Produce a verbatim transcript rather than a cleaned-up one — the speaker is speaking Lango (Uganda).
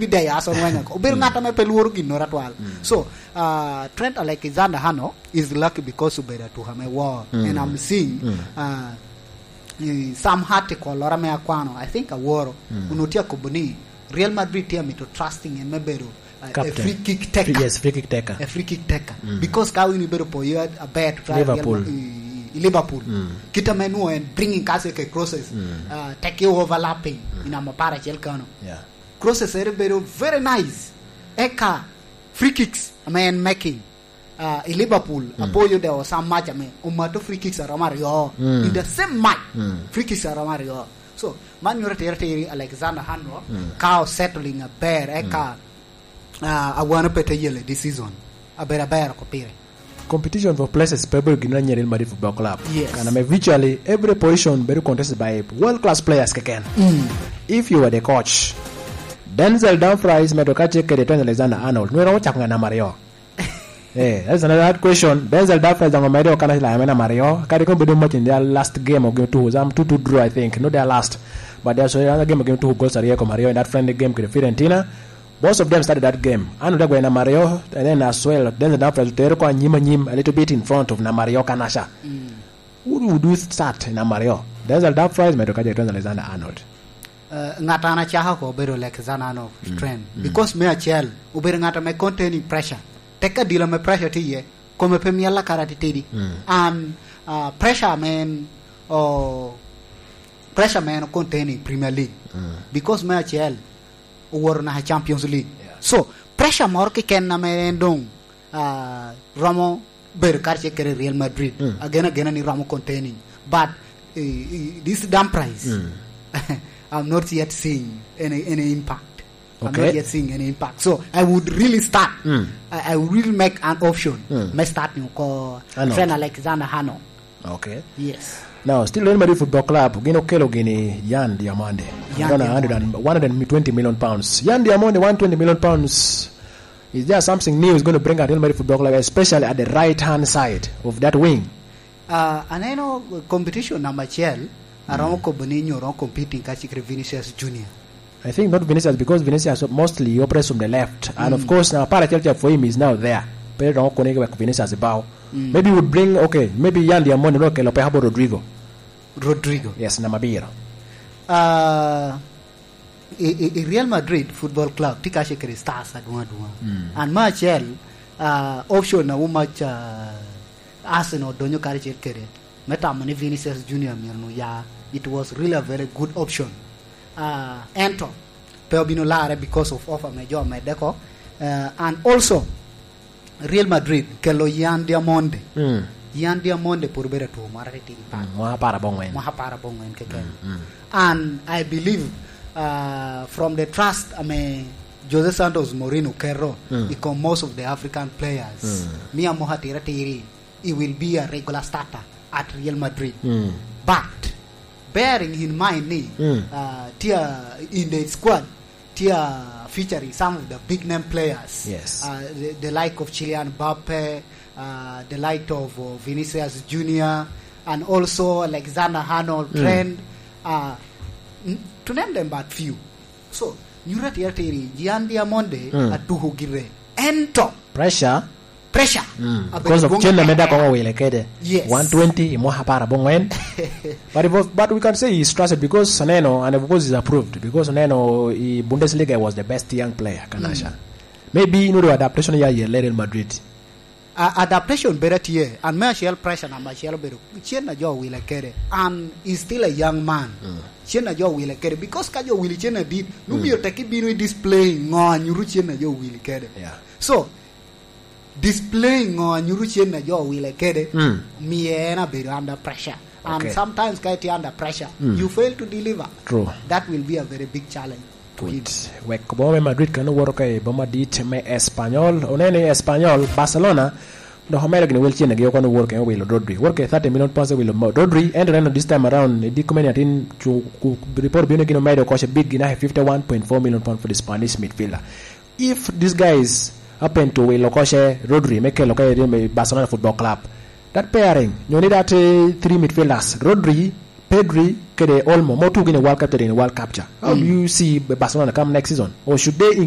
Day aso ngwenya ko. Obedo ng'at ame pe lworo ginnoro atwal. So, uh, Trent Alexander-Arnold is lucky because obedo atuka me war. And I'm seeing, uh, eh, some article lora me akwano, I think aworo, onutye akobo ni Real Madrid tye amito trusting en me bedo, uh, a free kick taker. Yes, free kick taker. A free kick taker. Because ka win ibedo poyo aber to try Liverpool. Real Ma-, i, i Liverpool. Kita me nuo en bringing kase ke crosses, uh, take overlapping, in amo para chel kano. Yeah. Crosses ere bedo very nice. Eka free kicks ame en making, uh, i Liverpool, apoyo de o some match ame omato free kicks aromo aryo. In the same match, free kicks aromo aryo. So, man nyuto atir atir Alexander Arnold, ka o settling aber, eka, uh, awano pe te yele this season. Aber aber oko pire. Competition for places pe bedo gin anyira in Madrid Football Club. Yes. Kan ame virtually every position bedo contested by world class players keken. If you were the coach, Denzel Dumfries medo ka cek kede Trent Alexander-Arnold, nwero ocako nga namba aryo? Eh, that's another hard question. Denzel Dumfries dong omedo kana la me namba aryo. Kadi kono bedo match in their last game of game two, some two two draw, I think. Not their last. But there's another game of game two goals aryo kom aryo in that friendly game kede Fiorentina. Both of them started that game. Arnold agweno namba aryo, and then as well, Denzel Dumfries otero ko anyim anyim, a little bit in front of namba aryo Kanasha. Who would you start in namba aryo? Denzel Dumfries medo ka Trent Alexander-Arnold? Uh, ngat an acako ko obedo Alexander Arnold Trent. Because me acel, obedo ngat ame containing pressure. Tek adila me pressure tye iye, kome pe miel akara titidi. And, uh, pressure man, oh, pressure man containing Premier League. Because me acel, owoto naka Champions League. Yeah. So, pressure moro keken ame en dong, ah, romo bedo karacel kede Real Madrid. Agen agena ni romo containing. But, eh, eh, this Dumfries, I'm not yet seeing any, any impact. I'm not yet seeing any impact. So, I would really start. I, I would really make an option. Me start ni oko Trent Alexander-Arnold. Okay. Yes. Now, still Real Madrid Football Club, gin okelo gini Yan Diomande. Yan Diomande. One hundred and, one hundred and twenty million pounds. Yan Diomande, one twenty million pounds. Is there something new is going to bring at Real Madrid Football Club, especially at the right-hand side of that wing? Uh, aneno competition number acel, aromo kobo ni nyo romo competing kacikere Vinicius Junior. I think not Vinicius, because Vinicius mostly he operates from the left. And of course, now, para chel for him is now there. Pero don't connect with Vinicius about. Maybe would bring, okay, maybe Yan Diomande no kelo pe about Rodrygo. Rodrygo. Yes, namba abiro. Uh, i, i, i Real Madrid Football Club, tye kace kede stars adwong adwong. And me acel, uh, option a much, uh, Arsenal donyo karacel kede. Me tamo ni Vinicius Junior myero nu ya, it was really a very good option. Ah, ento pe obino larre because of offer me jo medde ko. Eh, and also, Real Madrid kelo Yan Diomande. Yan Diomande pwod obedo atwo moro atitidi pat. Mwaka apar abongwen. Mwaka apar abongwen keken. And I believe, uh, from the trust ame Jose Santos Mourinho keto i kom most of the African players, me amoko atira atiri, he will be a regular starter at Real Madrid. But bearing in mind ni, uh, tye in the squad, tye featuring some of the big name players. Yes. Uh, the, the like of Kylian Mbappe, uh, the like of, uh, Vinicius Junior, and also Alexander Arnold, Trent, uh, n-, to name them but few. So, nyuto atira atiri, Yan Diomande atuko gire. Ento pressure. Pressure. Because of cen ame dako owile kede. Yes. One twenty i mwaka apar abongwen. But it was, but we can say he's trusted because aneno, and of course he's approved because aneno i Bundesliga he was the best young player, Kanasha. Maybe you know the adaptation ya ye Real Madrid. A-, adaptation bedo tye, and me acel pressure number acel obedo cen a jo owile kede, and is still a young man. Cen a jo owile kede, because ka jo owili cen adit, nu myero tek ibino i display ngo anyuto cen a jo owili kede. Yeah. So, displaying ngo anyuto cen a jo owile kede, miyo en abedo under pressure. And sometimes ka itye under pressure, you fail to deliver. True. That will be a very big challenge to him. Wek boma me Madrid kan owoto ka i boma dit me Espanyol. Oneno i Espanyol, Barcelona dok omedo gini wel cen agi oko ni wor kene wilo Rodri. Wor kene thirty million pounds wilo Mo-, Rodri. Ento neno this time around, i diko mene atin cu-, ku-, report bino gini omedo koce big gini fifty-one point four million pounds for the Spanish midfielder. If these guys happen to wilo koce Rodri me kelo ka i Barcelona Football Club, that pairing, you need that, uh, three midfielders, Rodri, Pedri, kede Olmo, mo tugo in a World Cup, in a World Cup cha. How do you see Barcelona come next season? Or should they include